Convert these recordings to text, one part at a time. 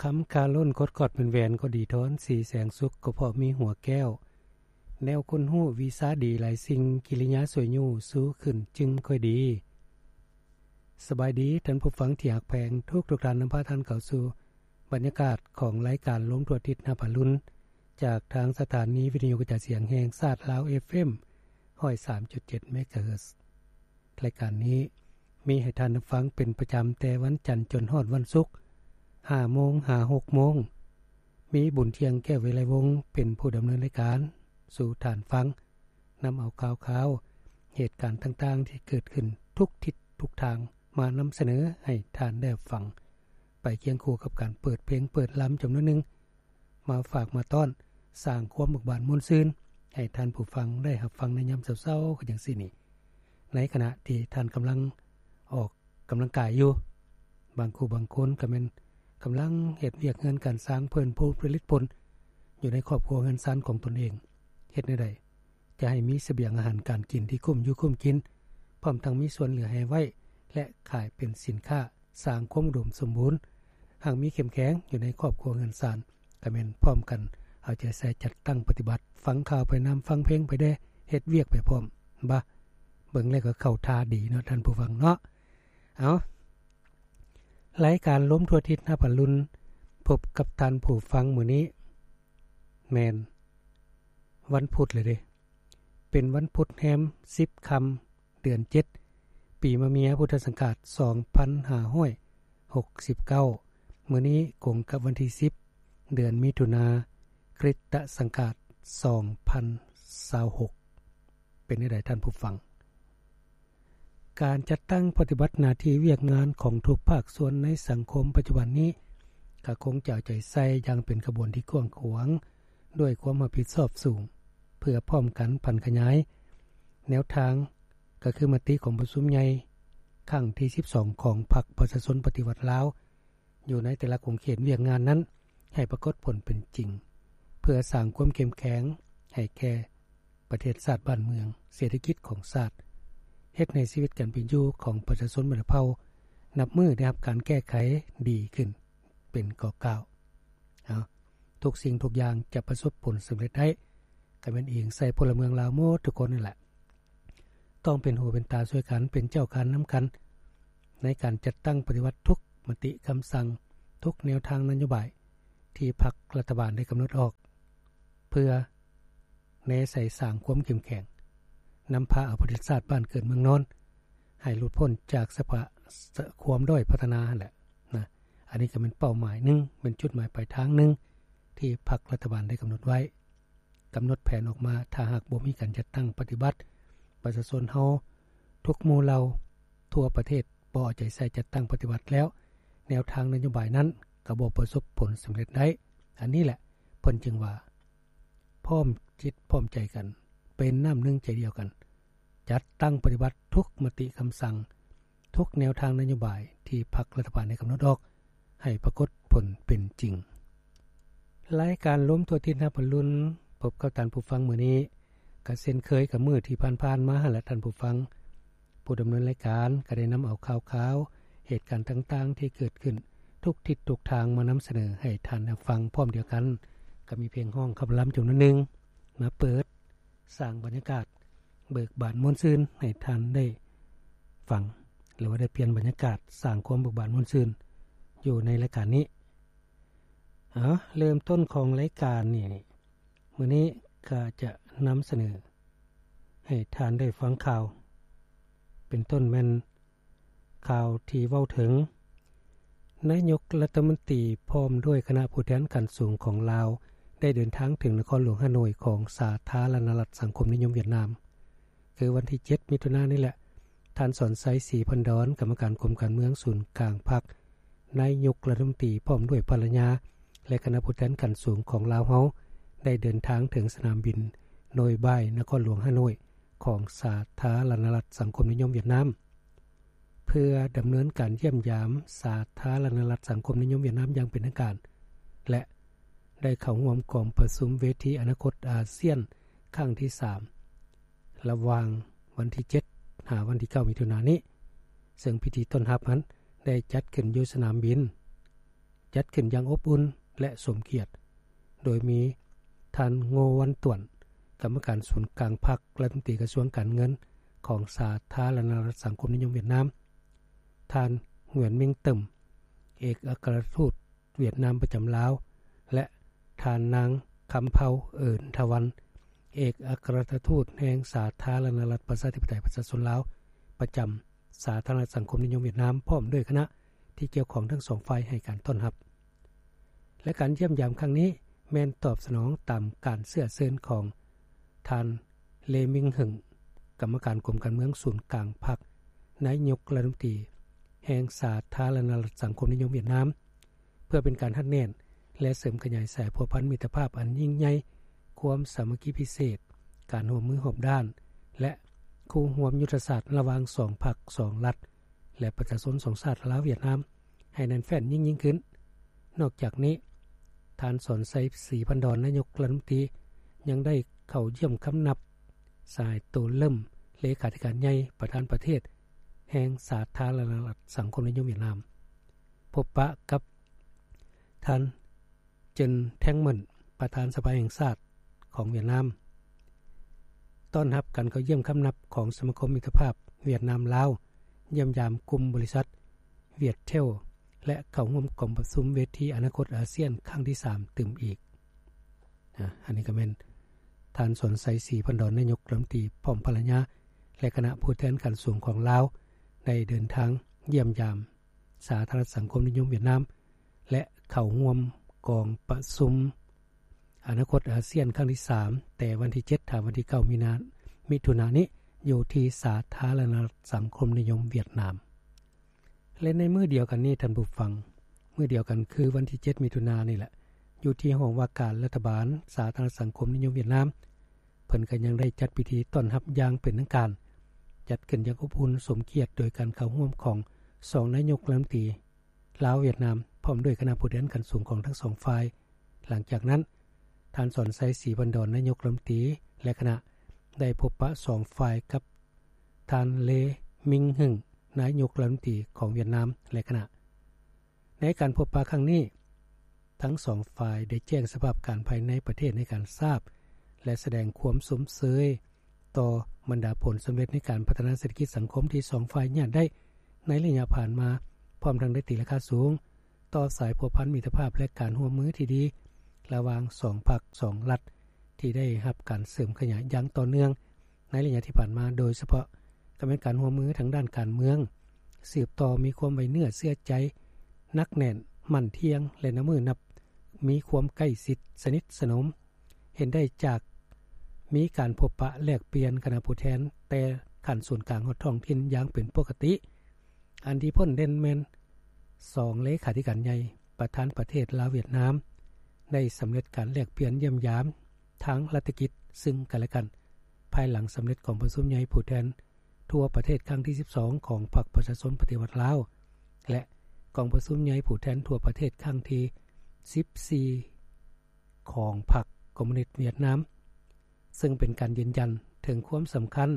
ຄຳຄາລົ້ນກົດກອດເປັນແຫວນກໍດີທອນ ສີແສງສຸກກໍເພາະມີຫົວແກ້ວ ແນວຄົນຮູ້ວິຊາດີຫຼາຍສິ່ງ ກິລິຍາສວຍຢູ່ຊູຂຶ້ນຈຶ່ງຄ່ອຍດີ. ສະບາຍດີທ່ານຜູ້ຟັງທີ່ຮັກແພງ ທຸກໆທ່ານ ນຳພາທ່ານເຂົ້າສູ່ບັນຍາກາດຂອງລາຍການລົມທົ່ວທິດນັບອະລຸນ ຈາກທາງສະຖານີວິທະຍຸກະຈາຍສຽງແຫ່ງຊາດລາວ ເອັຟເອັມ ຮ້ອຍສາມຈຸດເຈັດ ເມກາເຮີດ. ລາຍການນີ້ມີໃຫ້ທ່ານໄດ້ຟັງເປັນປະຈຳແຕ່ວັນຈັນຈົນຮອດວັນສຸກ ຫ້າໂມງຫາຫົກໂມງ. ມີບຸນທ່ຽງ ແກ້ວວິໄລວົງ ເປັນຜູ້ດຳເນີນລາຍການສູ່ທ່ານຟັງ, ນຳເອົາຂ່າວຄາວ ເຫດການຕ່າງໆທີ່ເກີດຂຶ້ນທຸກທິດທຸກທາງ ມານຳສະເໜີໃຫ້ທ່ານໄດ້ຮັບຟັງ ໄປຄຽງຄູ່ກັບການເປີດເພງເປີດລຳຈຳນວນໜຶ່ງ ມາຝາກມາຕ້ອນ ສ້າງຄວາມເບີກບານມ່ວນຊື່ນໃຫ້ທ່ານຜູ້ຟັງໄດ້ຮັບຟັງໃນຍາມເຊົ້າໆ ຄືຈັ່ງຊີ້ນີ້ ໃນຂະນະທີ່ທ່ານກຳລັງອອກກຳລັງກາຍຢູ່. ບາງຄູ່ບາງຄົນກໍແມ່ນກຳລັງເຮັດວຽກເຮືອນການຊ່າງ ເພີ່ມພູນຜະລິດຜົນຢູ່ໃນຄອບຄົວເຮືອນຊານຂອງຕົນເອງ. ເຮັດແນວໃດຈະໃຫ້ມີສະບຽງອາຫານການກິນທີ່ກຸ້ມຢູ່ກຸ້ມກິນ, ພ້ອມທັງມີສ່ວນເຫຼືອໃຫ້ໄວ້ ແລະ ຂາຍເປັນສິນຄ້າ ສ້າງຄວາມອຸດົມສົມບູນ ຮັ່ງມີເຂັ້ມແຂງຢູ່ໃນຄອບຄົວເຮືອນຊານ ກໍແມ່ນພ້ອມກັນເອົາໃຈໃສ່ຈັດຕັ້ງປະຕິບັດ, ຟັງຂ່າວໄປນຳ, ຟັງເພງໄປແດ່, ເຮັດວຽກໄປພ້ອມ. ບາ ເບິ່ງແລ້ວກໍເຂົ້າທ່າດີເນາະທ່ານຜູ້ຟັງເນາະ. ເອົາ ລາຍການລົມທົ່ວທິດນັບອະລຸນ ພົບກັບທ່ານຜູ້ຟັງມື້ນີ້ ແມ່ນວັນພຸດເລີຍເດ້. ເປັນວັນພຸດແຮມສິບຄ່ຳ ເດືອນເຈັດ ປີມະເມຍ ພຸດທະສັງກາດ ສອງພັນຫ້າຮ້ອຍຫົກສິບເກົ້າ. ມື້ນີ້ກົງກັບວັນທີສິບ ເດືອນມິຖຸນາ ຄຣິສຕະສັງກາດ ສອງພັນຊາວຫົກ. ເປັນແນວໃດທ່ານຜູ້ຟັງ? ການຈັດຕັ້ງປະຕິບັດໜ້າທີ່ວຽກງານຂອງທຸກພາກສ່ວນໃນສັງຄົມປັດຈຸບັນນີ້ ກໍຄົງຈະເອົາໃຈໃສ່ຢ່າງເປັນຂະບວນທີ່ກວ້າງຂວາງ ດ້ວຍຄວາມຮັບຜິດຊອບສູງ ເພື່ອພ້ອມກັນຜັນຂະຫຍາຍແນວທາງ ກໍຄືມະຕິຂອງປະຊຸມໃຫຍ່ຄັ້ງທີສິບສອງ ຂອງພັກປະຊາຊົນປະຕິວັດລາວ ຢູ່ໃນແຕ່ລະຂົງເຂດວຽກງານນັ້ນ ໃຫ້ປາກົດຜົນເປັນຈິງ ເພື່ອສ້າງຄວາມເຂັ້ມແຂງໃຫ້ແກ່ປະເທດຊາດບ້ານເມືອງ, ເສດຖະກິດຂອງຊາດ, ເຮັດໃຫ້ຊີວິດການເປັນຢູ່ຂອງປະຊາຊົນບັນດາເຜົ່າ ນັບມື້ໄດ້ຮັບການແກ້ໄຂດີຂຶ້ນເປັນກໍກ້າວ. ເອົາ ທຸກສິ່ງທຸກຢ່າງຈະປະສົບຜົນສຳເລັດໄດ້ ກໍແມ່ນອີງໃສ່ພົນລະເມືອງລາວໝົດທຸກຄົນນັ້ນແຫຼະ. ຕ້ອງເປັນຫູເປັນຕາຊ່ວຍກັນ, ເປັນເຈົ້າການນຳກັນ ໃນການຈັດຕັ້ງປະຕິບັດທຸກມະຕິຄຳສັ່ງ, ທຸກແນວທາງນະໂຍບາຍທີ່ພັກລັດຖະບານໄດ້ກຳນົດອອກ ເພື່ອແນໃສ່ສ້າງຄວາມເຂັ້ມແຂງ, ນຳພາເອົາປະເທດຊາດບ້ານເກີດເມືອງນອນ ໃຫ້ຫຼຸດພົ້ນຈາກສະພາ ຄວາມດ້ອຍພັດທະນາຫັ້ນແຫຼະນະ. ອັນນີ້ກໍແມ່ນເປົ້າໝາຍໜຶ່ງ, ແມ່ນຈຸດໝາຍປາຍທາງໜຶ່ງ ທີ່ພັກລັດຖະບານໄດ້ກຳນົດໄວ້. ກຳນົດແຜນອອກມາ, ຖ້າຫາກບໍ່ມີການຈັດຕັ້ງປະຕິບັດ, ປະຊາຊົນເຮົາທຸກໝູ່ເຫຼົ່າທົ່ວປະເທດບໍ່ເອົາໃຈໃສ່ຈັດຕັ້ງປະຕິບັດແລ້ວ, ແນວທາງນະໂຍບາຍນັ້ນກໍບໍ່ປະສົບຜົນສຳເລັດໄດ້. ອັນນີ້ແຫຼະ ເພິ່ນຈຶ່ງວ່າ ພ້ອມຈິດພ້ອມໃຈກັນ, ເປັນນ້ຳໜຶ່ງໃຈດຽວກັນ, ຈັດຕັ້ງປະຕິບັດທຸກມະຕິຄຳສັ່ງ, ທຸກແນວທາງນະໂຍບາຍທີ່ພັກລັດຖະບານໄດ້ກຳນົດອອກ ໃຫ້ປາກົດຜົນເປັນຈິງ. ລາຍການລົມທົ່ວທິດຮັບອະລຸນ ພົບກັບທ່ານຜູ້ຟັງມື້ນີ້ ກະເຊັ່ນເຄີຍກັບມື້ທີ່ຜ່ານໆມາຫັ້ນແຫຼະທ່ານຜູ້ຟັງ. ຜູ້ດຳເນີນລາຍການກໍໄດ້ນຳເອົາຂ່າວຄາວ ເຫດການຕ່າງໆທີ່ເກີດຂຶ້ນທຸກທິດທຸກທາງມານຳສະເໜີໃຫ້ທ່ານໄດ້ຟັງ. ພ້ອມດຽວກັນກໍມີເພງຮ້ອງຄຳລຳຈຳນວນໜຶ່ງມາເປີດ ສ້າງບັນຍາກາດເບີກບານມ່ວນຊື່ນໃຫ້ທ່ານໄດ້ຟັງ ຫຼືວ່າໄດ້ປ່ຽນບັນຍາກາດສ້າງຄວາມເບີກບານມ່ວນຊື່ນຢູ່ໃນລາຍການນີ້. ເອົາ ເລີ່ມຕົ້ນຂອງລາຍການນີ້ ມື້ນີ້ຂ້າຈະນຳສະເໜີໃຫ້ທ່ານໄດ້ຟັງຂ່າວ ເປັນຕົ້ນແມ່ນ ຂ່າວທີ່ເວົ້າເຖິງ ນາຍົກລັດຖະມົນຕີພ້ອມດ້ວຍຄະນະຜູ້ແທນຂັ້ນສູງຂອງລາວ ໄດ້ເດີນທາງເຖິງນະຄອນຫຼວງຮ່າໂນ້ຍຂອງສາທາລະນະລັດສັງຄົມນິຍົມຫວຽດນາມ. ຄືວັນທີເຈັດ ມິຖຸນານີ້ແຫຼະ, ທ່ານ ສອນໄຊ ສີພັນດອນ ກຳມະການກົມການເມືອງສູນກາງພັກ, ນາຍົກລັດຖະມົນຕີພ້ອມດ້ວຍພັນລະຍາ ແລະ ຄະນະຜູ້ແທນຂັ້ນສູງຂອງລາວເຮົາ ໄດ້ເດີນທາງເຖິງສະໜາມບິນໂນຍບາຍ ນະຄອນຫຼວງຮ່າໂນ້ຍ ຂອງສາທາລະນະລັດສັງຄົມນິຍົມຫວຽດນາມ ເພື່ອດຳເນີນການຢ້ຽມຢາມສາທາລະນະລັດສັງຄົມນິຍົມຫວຽດນາມຢ່າງເປັນທາງການ ແລະ ໄດ້ເຂົ້າຮ່ວມກອງປະຊຸມເວທີອະນາຄົດອາຊຽນຄັ້ງທີສາມ ລະຫວ່າງວັນທີເຈັດ ຫາວັນທີເກົ້າ ມິຖຸນານີ້, ເຊິ່ງພິທີຕ້ອນຮັບນັ້ນໄດ້ຈັດຂຶ້ນຢູ່ສະໜາມບິນ ຈັດຂຶ້ນຢ່າງອົບອຸ່ນ ແລະ ສົມກຽດ ໂດຍມີທ່ານ ໂງ ວັນຕວນ ກຳມະການສູນກາງພັກ, ລັດຖະມົນຕີກະຊວງການເງິນຂອງສາທາລະນະລັດສັງຄົມນິຍົມຫວຽດນາມ, ທ່ານ ຫງວຽນ ມິງ ເຕີມ ເອກອັກຄະລັດທູດຫວຽດນາມປະຈຳລາວ ແລະ ທ່ານນາງ ຄຳເພົາ ເອີນທະວັນ ເອກອັກຄະລັດທູດແຫ່ງສາທາລະນະລັດປະຊາທິປະໄຕປະຊາຊົນລາວ ປະຈຳສາທາລະນະລັດສັງຄົມນິຍົມຫວຽດນາມ ພ້ອມດ້ວຍຄະນະທີ່ກ່ຽວຂ້ອງທັງສອງຝ່າຍໃຫ້ການຕ້ອນຮັບ. ແລະ ການຢ້ຽມຢາມຄັ້ງນີ້ແມ່ນຕອບສະໜອງຕາມການເຊື້ອເຊີນຂອງທ່ານ ເລ ມິງເຫິງ ກຳມະການກົມການເມືອງສູນກາງພັກ, ນາຍົກລັດຖະມົນຕີແຫ່ງສາທາລະນະລັດສັງຄົມນິຍົມຫວຽດນາມ ເພື່ອເປັນການຮັດແໜ້ນ ແລະ ເສີມຂະຫຍາຍສາຍພົວພັນມິດຕະພາບອັນຍິ່ງໃຫຍ່, ຄວາມສາມັກຄີພິເສດ, ການຮ່ວມມືຮອບດ້ານ ແລະ ຄູ່ຮ່ວມຍຸດທະສາດລະຫວ່າງສອງພັກ, ສອງລັດ ແລະ ປະຊາຊົນສອງຊາດລາວ-ຫວຽດນາມ ໃຫ້ແໜ້ນແຟ້ນຍິ່ງໆຂຶ້ນ. ນອກຈາກນີ້, ທ່ານ ສອນໄຊ ສີພັນດອນ ນາຍົກລັດຖະມົນຕີ ຍັງໄດ້ເຂົ້າຢ້ຽມຄຳນັບ ສະຫາຍ ໂຕເລິ້ມ ເລຂາທິການໃຫຍ່ ປະທານປະເທດແຫ່ງສາທາລະນະລັດສັງຄົມນິຍົມຫວຽດນາມ, ພົບປະກັບທ່ານ ເຈິນ ແທງເໝິນ ປະທານສະພາແຫ່ງຊາດຂອງຫວຽດນາມ, ຕ້ອນຮັບການເຂົ້າຢ້ຽມຄຳນັບຂອງສະມາຄົມມິດຕະພາບຫວຽດນາມ-ລາວ, ຢ້ຽມຢາມກຸ່ມບໍລິສັດຫວຽດເທວ ແລະ ເຂົ້າຮ່ວມກອງປະຊຸມເວທີອະນາຄົດອາຊຽນຄັ້ງທີສາມຕື່ມອີກ. ອາ ອັນນີ້ກໍແມ່ນທ່ານ ສອນໄຊ ສີພັນດອນ ນາຍົກລັດຖະມົນຕີ ພ້ອມພັນລະຍາ ແລະ ຄະນະຜູ້ແທນຂັ້ນສູງຂອງລາວ ໄດ້ເດີນທາງຢ້ຽມຢາມສາທາລະນະລັດສັງຄົມນິຍົມຫວຽດນາມ ແລະ ເຂົ້າຮ່ວມກອງປະຊຸມອະນາຄົດອາຊຽນຄັ້ງທີສາມ ແຕ່ວັນທີເຈັດ ຫາ ວັນທີເກົ້າ ມີນາ ມິຖຸນານີ້ ຢູ່ທີ່ສາທາລະນະລັດສັງຄົມນິຍົມຫວຽດນາມ. ແລະ ໃນມື້ດຽວກັນນີ້ ທ່ານຜູ້ຟັງ, ມື້ດຽວກັນຄືວັນທີເຈັດ ມິຖຸນານີ້ແຫຼະ, ຢູ່ທີ່ຫ້ອງວ່າການລັດຖະບານສາທາລະນະລັດສັງຄົມນິຍົມຫວຽດນາມ, ເພິ່ນກໍຍັງໄດ້ຈັດພິທີຕ້ອນຮັບຢ່າງເປັນທາງການ, ຈັດຂຶ້ນຢ່າງອົບອຸ່ນສົມກຽດໂດຍການເຂົ້າຮ່ວມຂອງສອງນາຍົກລັດຖະມົນຕີລາວ-ຫວຽດນາມ ພ້ອມດ້ວຍຄະນະຜູ້ແທນຂັ້ນສູງຂອງທັງສອງຝ່າຍ. ຫຼັງຈາກນັ້ນ, ທ່ານ ສອນໄຊ ສີພັນດອນ ນາຍົກລັດຖະມົນຕີ ແລະ ຄະນະ ໄດ້ພົບປະສອງຝ່າຍກັບ ທ່ານ ເລ ມິງເຫິງ ນາຍົກລັດຖະມົນຕີຂອງຫວຽດນາມ ແລະ ຄະນະ. ໃນການພົບປະຄັ້ງນີ້, ທັງສອງຝ່າຍໄດ້ແຈ້ງສະພາບການພາຍໃນປະເທດໃຫ້ການຊາບ ແລະ ສະແດງຄວາມຊົມເຊີຍຕໍ່ບັນດາຜົນສຳເລັດໃນການພັດທະນາເສດຖະກິດສັງຄົມທີ່ສອງຝ່າຍຍາດໄດ້ໃນໄລຍະຜ່ານມາ, ພ້ອມທັງໄດ້ຕີລາຄາສູງຕໍ່ສາຍພົວພັນມິດຕະພາບ ແລະ ການຮ່ວມມືທີ່ດີລະຫວ່າງສອງພັກສອງລັດ ທີ່ໄດ້ຮັບການເສີມຂະຫຍາຍຢ່າງຕໍ່ເນື່ອງ ໃນໄລຍະທີ່ຜ່ານມາ, ໂດຍສະເພາະກໍແມ່ນການຮ່ວມມືທາງດ້ານການເມືອງ, ສືບຕໍ່ມີຄວາມໄວ້ເນື້ອເຊື່ອໃຈໜັກແໜ້ນ, ໝັ້ນທ່ຽງ ແລະ ນັບມື້ນັບມີຄວາມໃກ້ຊິດສະໜິດສະໜົມ, ເຫັນໄດ້ຈາກມີການພົບປະແລກປ່ຽນຄະນະຜູ້ແທນແຕ່ຂັ້ນສູນກາງຮອດທ້ອງຖິ່ນຢ່າງເປັນປົກກະຕິ. ອັນທີ່ພົ້ນເດັ່ນແມ່ນ ສອງເລຂາທິການໃຫຍ່ ປະທານປະເທດລາວ-ຫວຽດນາມ ໄດ້ສຳເລັດການແລກປ່ຽນຢ້ຽມຢາມທາງລັດຖະກິດຊຶ່ງກັນ ແລະ ກັນ ພາຍຫຼັງສຳເລັດກອງປະຊຸມໃຫຍ່ຜູ້ແທນທົ່ວປະເທດຄັ້ງທີສິບສອງຂອງພັກປະຊາຊົນປະຕິວັດລາວ ແລະ ກອງປະຊຸມໃຫຍ່ຜູ້ແທນທົ່ວປະເທດຄັ້ງທີສິບສີ່ຂອງພັກຄອມມູນິດຫວຽດນາມ, ເຊິ່ງເປັນການຢືນຢັນເຖິງຄວາມສຳຄັນ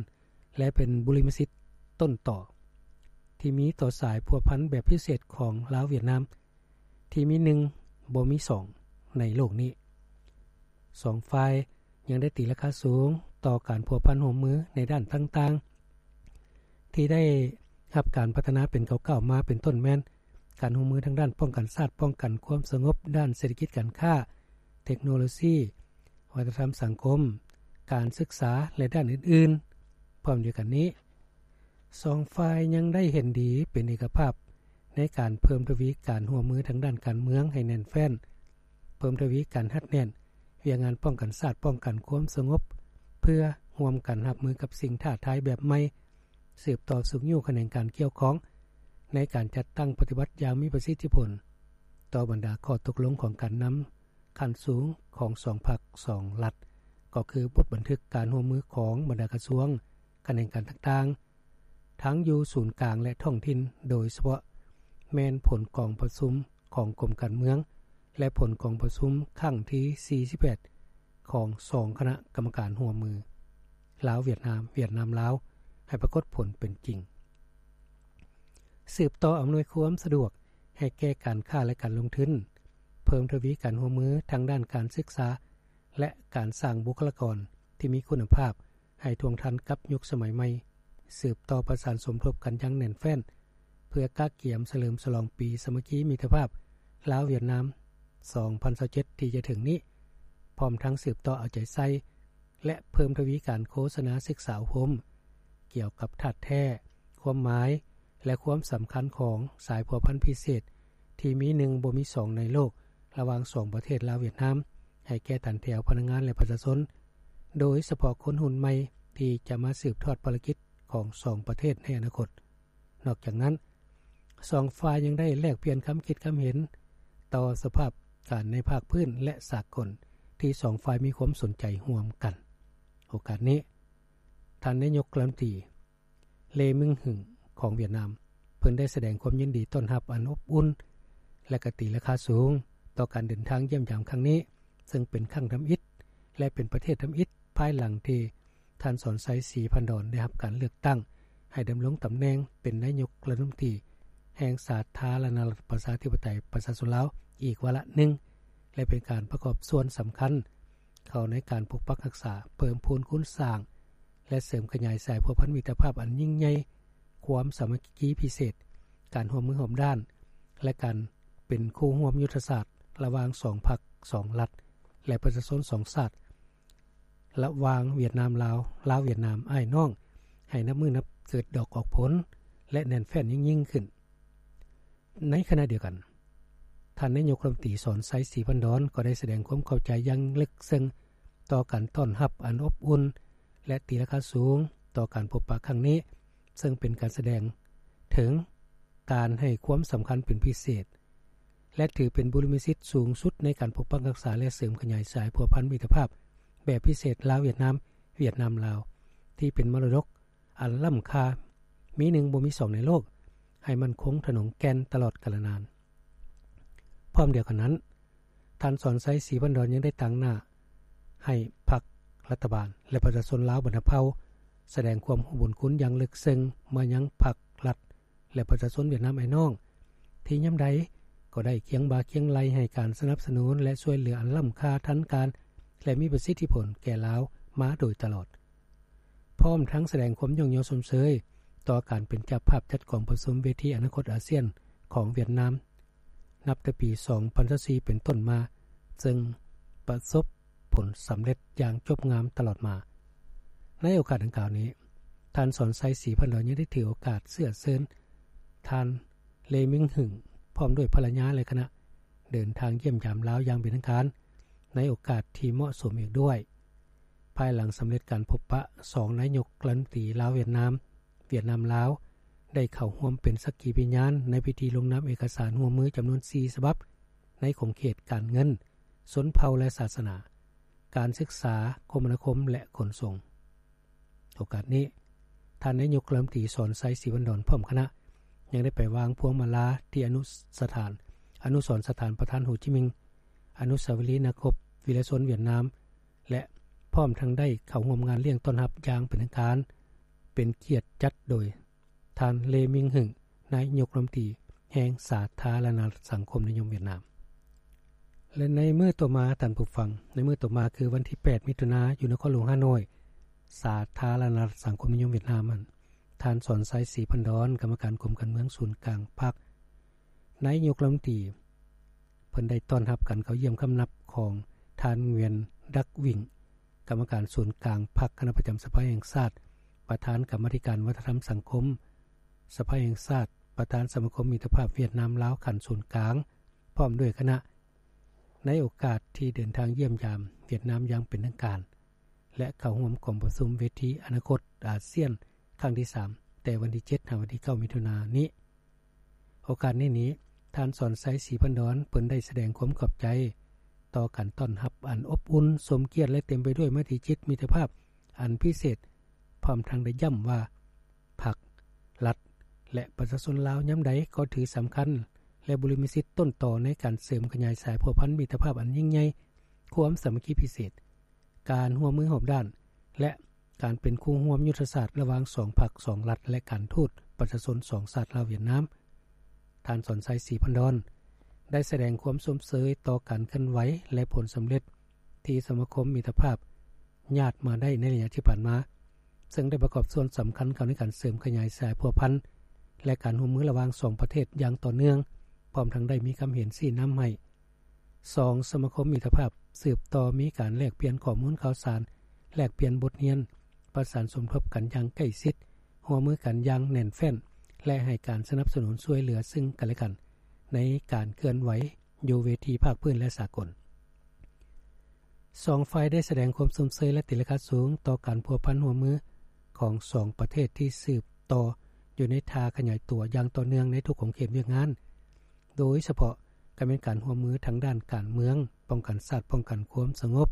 ແລະ ເປັນບຸລິມະສິດຕົ້ນຕໍທີ່ມີຕໍ່ສາຍພົວພັນແບບພິເສດຂອງລາວ-ຫວຽດນາມ ທີ່ມີໜຶ່ງບໍ່ມີສອງໃນໂລກນີ້. ສອງຝ່າຍຍັງໄດ້ຕີລາຄາສູງຕໍ່ການພົວພັນຮ່ວມມືໃນດ້ານຕ່າງໆ ທີ່ໄດ້ຮັບການພັດທະນາເປັນກ້າວໆມາ, ເປັນຕົ້ນແມ່ນ ການຮ່ວມມືທາງດ້ານປ້ອງກັນຊາດ, ປ້ອງກັນຄວາມສະຫງົບ, ດ້ານເສດຖະກິດການຄ້າ, ເທັກໂນໂລຊີ, ວັດທະນະທຳສັງຄົມ, ການສຶກສາ ແລະ ດ້ານອື່ນໆ. ພ້ອມດຽວກັນນີ້, ສອງຝ່າຍຍັງໄດ້ເຫັນດີເປັນເອກະພາບໃນການເພີ່ມທະວີການຮ່ວມມືທາງດ້ານການເມືອງໃຫ້ແໜ້ນແຟ້ນ, ເພີ່ມທະວີການຮັດແໜ້ນວຽກງານປ້ອງກັນຊາດ, ປ້ອງກັນຄວາມສະຫງົບ ເພື່ອຮ່ວມກັນຮັບມືກັບສິ່ງທ້າທາຍແບບໃໝ່, ສືບຕໍ່ຊຸກຍູ້ຂະແໜງການກ່ຽວຂ້ອງໃນການຈັດຕັ້ງປະຕິບັດຢ່າງມີປະສິດທິຜົນຕໍ່ບັນດາຂໍ້ຕົກລົງຂອງການນຳຂັ້ນສູງຂອງສອງພັກສອງລັດ, ກໍຄືບົດບັນທຶກການຮ່ວມມືຂອງບັນດາກະຊວງ, ຂະແໜງການຕ່າງໆ, ທັງຢູ່ສູນກາງ ແລະ ທ້ອງຖິ່ນ, ໂດຍສະເພາະແມ່ນຜົນກອງປະຊຸມຂອງກົມການເມືອງ ແລະ ຜົນກອງປະຊຸມຄັ້ງທີສີ່ສິບແປດ ຂອງສອງຄະນະກຳມະການຮ່ວມມື ລາວ-ຫວຽດນາມ, ຫວຽດນາມ-ລາວ ໃຫ້ປາກົດຜົນເປັນຈິງ. ສືບຕໍ່ອຳນວຍຄວາມສະດວກໃຫ້ແກ່ການຄ້າ ແລະ ການລົງທຶນ, ເພີ່ມທະວີການຮ່ວມມືທາງດ້ານການສຶກສາ ແລະ ການສ້າງບຸກຄະລາກອນທີ່ມີຄຸນນະພາບ ໃຫ້ທ່ວງທັນກັບຍຸກສະໄໝໃໝ່, ສືບຕໍ່ປະສານສົມທົບກັນຢ່າງແໜ້ນແຟ້ນ ເພື່ອກະກຽມສະເຫຼີມສະຫຼອງປີສາມັກຄີມິດຕະພາບລາວ-ຫວຽດນາມ ສອງພັນຊາວເຈັດ ທີ່ຈະເຖິງນີ້, ພ້ອມທັງສືບຕໍ່ເອົາໃຈໃສ່ ແລະ ເພີ່ມທະວີການໂຄສະນາສຶກສາອົບຮົມ ກ່ຽວກັບທາດແທ້, ຄວາມໝາຍ ແລະ ຄວາມສຳຄັນຂອງສາຍພົວພັນພິເສດ ທີ່ມີໜຶ່ງບໍ່ມີສອງໃນໂລກ ລະຫວ່າງສອງປະເທດລາວ-ຫວຽດນາມ ໃຫ້ແກ່ຖັນແຖວພະນັກງານ ແລະ ປະຊາຊົນ, ໂດຍສະເພາະຄົນຮຸ່ນໃໝ່ທີ່ຈະມາສືບທອດພາລະກິດຂອງສອງປະເທດໃນອະນາຄົດ. ນອກຈາກນັ້ນ, ສອງຝ່າຍຍັງໄດ້ແລກປ່ຽນຄຳຄິດຄຳເຫັນຕໍ່ສະພາບການໃນພາກພື້ນ ແລະ ສາກົນ ທີ່ສອງຝ່າຍມີຄວາມສົນໃຈຮ່ວມກັນ. ໂອກາດນີ້, ທ່ານນາຍົກລັດຖະມົນຕີ ເລ ມິງຫຶງ ຂອງຫວຽດນາມ ເພິ່ນໄດ້ສະແດງຄວາມຍິນດີຕ້ອນຮັບອັນອົບອຸ່ນ ແລະ ກະຕີລາຄາສູງຕໍ່ການເດີນທາງຢ້ຽມຢາມຄັ້ງນີ້, ເຊິ່ງເປັນຄັ້ງທຳອິດ ແລະ ເປັນປະເທດທຳອິດ ພາຍຫຼັງທີ່ທ່ານ ສອນໄຊ ສີພັນດອນ ໄດ້ຮັບການເລືອກຕັ້ງໃຫ້ດຳລົງຕຳແໜ່ງເປັນນາຍົກລັດຖະມົນຕີແຫ່ງສາທາລະນະລັດປະຊາທິປະໄຕປະຊາຊົນລາວອີກວາລະໜຶ່ງ ແລະ ເປັນການປະກອບສ່ວນສຳຄັນເຂົ້າໃນການປົກປັກຮັກສາ, ເພີ່ມພູນຄູນສ້າງ ແລະ ເສີມຂະຫຍາຍສາຍພົວພັນມິດຕະພາບອັນຍິ່ງໃຫຍ່, ຄວາມສາມັກຄີພິເສດ, ການຮ່ວມມືຮອບດ້ານ ແລະ ການເປັນຄູ່ຮ່ວມຍຸດທະສາດລະຫວ່າງສອງພັກ, ສອງລັດ ແລະ ປະຊາຊົນສອງຊາດ, ລະຫວ່າງຫວຽດນາມ-ລາວ, ລາວ-ຫວຽດນາມ, ອ້າຍນ້ອງ, ໃຫ້ນັບມື້ນັບເກີດດອກອອກຜົນ ແລະ ແໜ້ນແຟ້ນຍິ່ງໆຂຶ້ນ. ໃນຂະນະດຽວກັນ, ທ່ານນາຍົກລັດຖະມົນຕີ ສອນໄຊ ສີພັນດອນ ກໍໄດ້ສະແດງຄວາມຂອບໃຈຢ່າງເລິກເຊິ່ງຕໍ່ການຕ້ອນຮັບອັນອົບອຸ່ນ ແລະ ຕີລາຄາສູງຕໍ່ການພົບປະຄັ້ງນີ້, ເຊິ່ງເປັນການສະແດງເຖິງການໃຫ້ຄວາມສຳຄັນເປັນພິເສດ ແລະ ຖືເປັນບຸລິມະສິດສູງສຸດໃນການປົກປັກຮັກສາ ແລະ ເສີມຂະຫຍາຍສາຍພົວພັນມິດຕະພາບແບບພິເສດລາວ-ຫວຽດນາມ, ຫວຽດນາມ-ລາວ ທີ່ເປັນມໍລະດົກອັນລ້ຳຄ່າ, ມີໜຶ່ງບໍ່ມີສອງໃນໂລກ, ໃຫ້ໝັ້ນຄົງທະນົງແກ່ນຕະຫຼອດການລະນານ. ພ້ອມດຽວກັນນັ້ນ, ທ່ານ ສອນໄຊ ສີພັນດອນ ຍັງໄດ້ຕາງໜ້າໃຫ້ພັກລັດຖະບານ ແລະ ປະຊາຊົນລາວບັນດາເຜົ່າ ສະແດງຄວາມຮູ້ບຸນຄຸນຢ່າງເລິກເຊິ່ງມາຍັງພັກລັດ ແລະ ປະຊາຊົນຫວຽດນາມອ້າຍນ້ອງ ທີ່ຍາມໃດກໍໄດ້ຄຽງບ່າຄຽງໄຫຼ່ໃຫ້ການສະໜັບສະໜູນ ແລະ ຊ່ວຍເຫຼືອອັນລ້ຳຄ່າທັນການ ແລະ ມີປະສິດທິຜົນແກ່ລາວມາໂດຍຕະຫຼອດ. ພ້ອມທັງສະແດງຄວາມຍ້ອງຍໍຊົມເຊີຍຕໍ່ການເປັນເຈົ້າພາບຈັດກອງປະຊຸມເວທີອະນາຄົດອາຊຽນຂອງຫວຽດນາມ ນັບແຕ່ປີສອງພັນຊາວສີ່ເປັນຕົ້ນມາ, ເຊິ່ງປະສົບຜົນສຳເລັດຢ່າງຈົບງາມຕະຫຼອດມາ. ໃນໂອກາດດັ່ງກ່າວນີ້, ທ່ານ ສອນໄຊ ສີພັນດອນ ຍັງໄດ້ຖືໂອກາດເຊື້ອເຊີນທ່ານ ເລ ມິງຫຶງ ພ້ອມດ້ວຍພັນລະຍາ ແລະ ຄະນະ ເດີນທາງຢ້ຽມຢາມລາວຢ່າງເປັນທາງການ ໃນໂອກາດທີ່ເໝາະສົມອີກດ້ວຍ. ພາຍຫຼັງສຳເລັດການພົບປະສອງນາຍົກລັດຖະມົນຕີລາວ-ຫວຽດນາມ, ຫວຽດນາມ-ລາວ ໄດ້ເຂົ້າຮ່ວມເປັນສັກຂີພະຍານໃນພິທີລົງນາມເອກະສານຮ່ວມມືຈຳນວນສີ່ສະບັບ ໃນຂົງເຂດການເງິນ, ຊົນເຜົ່າ ແລະ ສາສະໜາ, ການສຶກສາ, ຄົມມະນາຄົມ ແລະ ຂົນສົ່ງ. ໂອກາດນີ້, ທ່ານນາຍົກລັດຖະມົນຕີ ສອນໄຊ ສີພັນດອນ ພ້ອມຄະນະ ຍັງໄດ້ໄປວາງພວງມາລາທີ່ອະນຸສະຖານ, ອະນຸສອນສະຖານປະທານໂຮຈິມິງ, ອະນຸສາວະລີນັກຮົບວີລະຊົນຫວຽດນາມ ແລະ ພ້ອມທັງໄດ້ເຂົ້າຮ່ວມງານລ້ຽງຕ້ອນຮັບຢ່າງເປັນທາງການ, ເປັນກຽດຈັດໂດຍທ່ານ ເລ ມິງຫຶງ, ນາຍົກລັດຖະມົນຕີແຫ່ງສາທາລະນະລັດສັງຄົມນິຍົມຫວຽດນາມ. ແລະ ໃນມື້ຕໍ່ມາ, ທ່ານຜູ້ຟັງ, ໃນມື້ຕໍ່ມາຄືວັນທີແປດ ມິຖຸນາ, ຢູ່ນະຄອນຫຼວງຮ່າໂນ້ຍ, ສາທາລະນະລັດສັງຄົມນິຍົມຫວຽດນາມນັ້ນ, ທ່ານ ສອນໄຊ ສີພັນດອນ, ກຳມະການກົມການເມືອງສູນກາງພັກ, ນາຍົກລັດຖະມົນຕີ ເພິ່ນໄດ້ຕ້ອນຮັບການເຂົ້າຢ້ຽມຄຳນັບຂອງທ່ານ ງວຽນ ດັກວິງ, ກຳມະການສູນກາງພັກ, ຄະນະປະຈຳສະພາແຫ່ງຊາດ, ປະທານກຳມາທິການວັດທະນະທຳສັງຄົມສະພາແຫ່ງຊາດ, ປະທານສະມາຄົມມິດຕະພາບຫວຽດນາມ-ລາວຂັ້ນສູນກາງ, ພ້ອມດ້ວຍຄະນະ, ໃນໂອກາດທີ່ເດີນທາງຢ້ຽມຢາມຫວຽດນາມຢ່າງເປັນທາງການ ແລະ ເຂົ້າຮ່ວມກອງປະຊຸມເວທີອະນາຄົດອາຊຽນຄັ້ງທີສາມ ແຕ່ວັນທີເຈັດ ຫາວັນທີເກົ້າ ມິຖຸນານີ້. ໂອກາດນີ້ນີ້, ທ່ານ ສອນໄຊ ສີພັນດອນ ເພິ່ນໄດ້ສະແດງຄວາມຂອບໃຈຕໍ່ການຕ້ອນຮັບອັນອົບອຸ່ນ, ສົມກຽດ ແລະ ເຕັມໄປດ້ວຍໄມຕີຈິດມິດຕະພາບອັນພິເສດ, ພ້ອມທັງໄດ້ຢ້ຳວ່າ ພັກ, ລັດ ແລະ ປະຊາຊົນລາວຍາມໃດກໍຖືສຳຄັນ ແລະ ບຸລິມະສິດຕົ້ນຕໍໃນການເສີມຂະຫຍາຍສາຍພົວພັນມິດຕະພາບອັນຍິ່ງໃຫຍ່, ຄວາມສາມັກຄີພິເສດ, ການຮ່ວມມືຮອບດ້ານ ແລະ ການເປັນຄູ່ຮ່ວມຍຸດທະສາດລະຫວ່າງສອງພັກ, ສອງລັດ ແລະ ການທູດປະຊາຊົນສອງຊາດລາວ-ຫວຽດນາມ. ທ່ານ ສອນໄຊ ສີພັນດອນ ໄດ້ສະແດງຄວາມຊົມເຊີຍຕໍ່ການເຄື່ອນໄຫວ ແລະ ຜົນສຳເລັດທີ່ສະມາຄົມມິດຕະພາບຍາດມາໄດ້ໃນໄລຍະທີ່ຜ່ານມາ, ເຊິ່ງໄດ້ປະກອບສ່ວນສຳຄັນເຂົ້າໃນການເສີມຂະຫຍາຍສາຍພົວພັນ ແລະ ການຮ່ວມມືລະຫວ່າງສອງປະເທດຢ່າງຕໍ່ເນື່ອງ, ພ້ອມທັງໄດ້ມີຄຳເຫັນຊີ້ນຳໃຫ້ ສອງ ສະມາຄົມມິດຕະພາບສືບຕໍ່ມີການແລກປ່ຽນຂໍ້ມູນຂ່າວສານ, ແລກປ່ຽນບົດຮຽນ, ປະສານສົມທົບກັນຢ່າງໃກ້ຊິດ, ຮ່ວມມືກັນຢ່າງແໜ້ນແຟ້ນ ແລະ ໃຫ້ການສະໜັບສະໜູນຊ່ວຍເຫຼືອເຊິ່ງກັນແລະກັນ ໃນການເຄື່ອນໄຫວຢູ່ເວທີພາກພື້ນ ແລະ ສາກົນ. ສອງຝ່າຍໄດ້ສະແດງຄວາມຊົມເຊີຍ ແລະ ຕີລາຄາສູງຕໍ່ການພົວພັນຮ່ວມມືຂອງສອງປະເທດທີ່ສືບຕໍ່ຢູ່ໃນທ່າຂະຫຍາຍຕົວຢ່າງຕໍ່ເນື່ອງໃນທຸກຂົງເຂດວຽກງານ, ໂດຍສະເພາະກໍແມ່ນການຮ່ວມມືທາງດ້ານການເມືອງ, ປ້ອງກັນຊາດ, ປ້ອງກັນຄວາມສະຫງົບ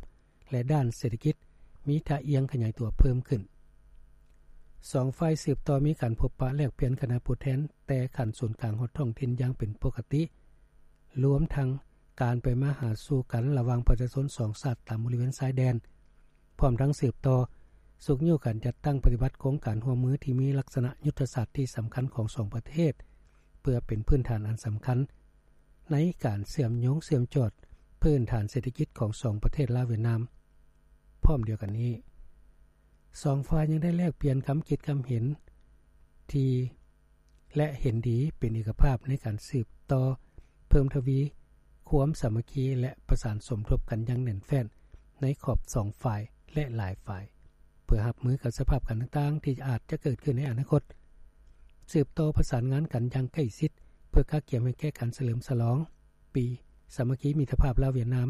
ແລະ ດ້ານເສດຖະກິດ ມີທ່າອ່ຽງຂະຫຍາຍຕົວເພີ່ມຂຶ້ນ. ສອງຝ່າຍສືບຕໍ່ມີການພົບປະແລກປ່ຽນຄະນະຜູ້ແທນ ແຕ່ຂັ້ນສູນກາງຮອດທ້ອງຖິ່ນຢ່າງເປັນປົກກະຕິ, ລວມທັງການໄປມາຫາສູ່ກັນລະຫວ່າງປະຊາຊົນສອງຊາດຕາມບໍລິເວນຊາຍແດນ, ພ້ອມທັງສືບຕໍ່ຊຸກຍູ້ການຈັດຕັ້ງປະຕິບັດໂຄງການຮ່ວມມືທີ່ມີລັກສະນະຍຸດທະສາດທີ່ສຳຄັນຂອງສອງປະເທດ ເພື່ອເປັນພື້ນຖານອັນສຳຄັນໃນການເຊື່ອມໂຍງເຊື່ອມຈອດພື້ນຖານເສດຖະກິດຂອງສອງປະເທດລາວຫວຽດນາມ. ພ້ອມດຽວກັນນີ້, ສອງຝ່າຍຍັງໄດ້ແລກປ່ຽນຄຳຄິດຄຳເຫັນທີ່ ແລະ ເຫັນດີເປັນເອກະພາບໃນການສືບຕໍ່ເພີ່ມທະວີຄວາມສາມັກຄີ ແລະ ປະສານສົມທົບກັນຢ່າງແໜ້ນແຟ້ນໃນຂອບສອງຝ່າຍ ແລະ ຫຼາຍຝ່າຍ ເພື່ອຮັບມືກັບສະພາບການຕ່າງໆທີ່ອາດຈະເກີດຂຶ້ນໃນອະນາຄົດ, ສືບຕໍ່ປະສານງານກັນຢ່າງໃກ້ຊິດ ເພື່ອກະກຽມໃຫ້ແກ່ການສະເຫຼີມສະຫຼອງປີສາມັກຄີມິດຕະພາບລາວຫວຽດນາມ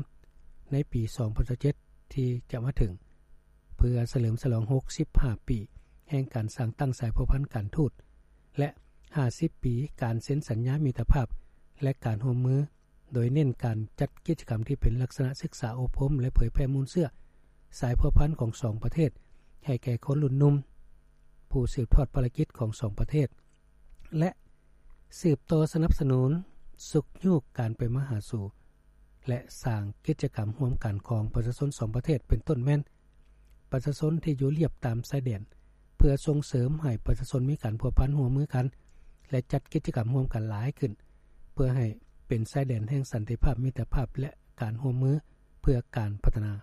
ໃນປີສອງພັນຊາວເຈັດທີ່ຈະມາເຖິງ ເພື່ອສະເຫຼີມສະຫຼອງຫົກສິບຫ້າປີແຫ່ງການສ້າງຕັ້ງສາຍພົວພັນການທູດ ແລະ ຫ້າສິບປີການເຊັນສັນຍາມິດຕະພາບ ແລະ ການຮ່ວມມື, ໂດຍເນັ້ນການຈັດກິດຈະກຳທີ່ເປັນລັກສະນະສຶກສາອົບຮົມ ແລະ ເຜີຍແຜ່ມູນເຊື້ອສາຍພົວພັນຂອງສອງປະເທດ ໃຫ້ແກ່ຄົນລຸ້ນໜຸ່ມ, ຜູ້ສືບທອດພາລະກິດຂອງສອງປະເທດ ແລະ ສືບຕໍ່ສະໜັບສະໜູນຊຸກຍູ້ການໄປມາຫາສູ່ ແລະ ສ້າງກິດຈະກຳຮ່ວມກັນຂອງປະຊາຊົນສອງປະເທດ ເປັນຕົ້ນແມ່ນປະຊາຊົນທີ່ຢູ່ລຽບຕາມຊາຍແດນ ເພື່ອສົ່ງເສີມໃຫ້ປະຊາຊົນມີການພົວພັນຮ່ວມມືກັນ ແລະ ຈັດກິດຈະກຳຮ່ວມກັນຫຼາຍຂຶ້ນ ເພື່ອໃຫ້ເປັນຊາຍແດນແຫ່ງສັນຕິພາບ, ມິດຕະພາບ ແລະ ການຮ່ວມມືເພື່ອການພັດທະນາ.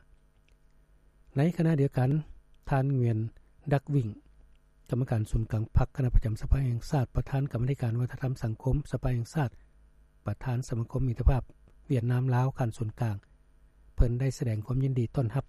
ໃນຂະນະດຽວກັນ, ທ່ານ ງວຽນ ດັກວິງ ກຳມະການສູນກາງພັກ, ຄະນະປະຈຳສະພາແຫ່ງຊາດ, ປະທານກຳມາທິການວັດທະນະທຳສັງຄົມສະພາແຫ່ງຊາດ, ປະທານສະມາຄົມມິດຕະພາບຫວຽດນາມ-ລາວຂັ້ນສູນກາງ, ເພິ່ນໄດ້ສະແດງຄວາມຍິນດີຕ້ອນຮັບ